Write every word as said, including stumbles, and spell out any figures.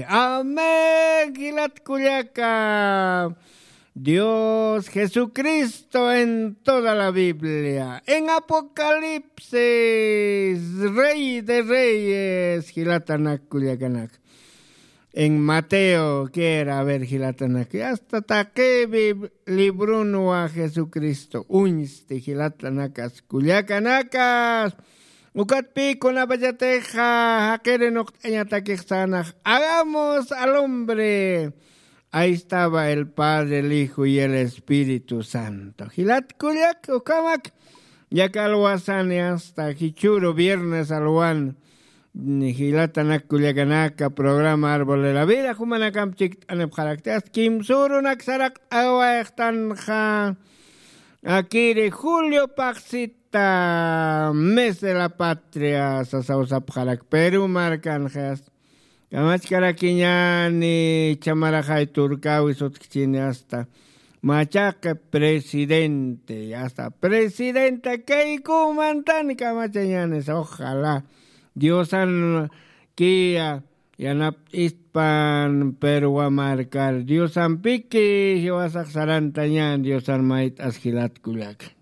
Amén, jilat kullaka. Dios Jesucristo en toda la Biblia. En Apocalipsis, Rey de Reyes, jilatanak kullakanak. En Mateo, quiera, a ver, jilatanak. Hasta taqi Bib-, librunwa Jesucristo. Uñsti, jilatanakas, kullakanakas. Ukatpï kunapachatixa jaqiri nuqt'añatakix sanax, hagamos al hombre. Ahí estaba el Padre, el Hijo y el Espíritu Santo. Jilat kullak, ukhamak. Yak alwasani hasta jichhüru viernes alwan. Jilatanak kullakanaka, programa Árbol de la Vida jumanakamp chikt'anipxarakti. Hasta kimsürunak saraqt'awayxtanxa. Akiri Julio Paxita, mes de la patria, sasaw sapxarak Perú markanxa. Kamachkarakiñäni, chhamaraxay turkäwi sutkchini hasta. Machaqi presidente, hasta presidenta kaykumantan kamachañänis, ojalá. Diosan kiya, yanapt'ispan Perú markar. Diosampiki jiwasax sarantañän, Diosan mayt'as jilat kullaka.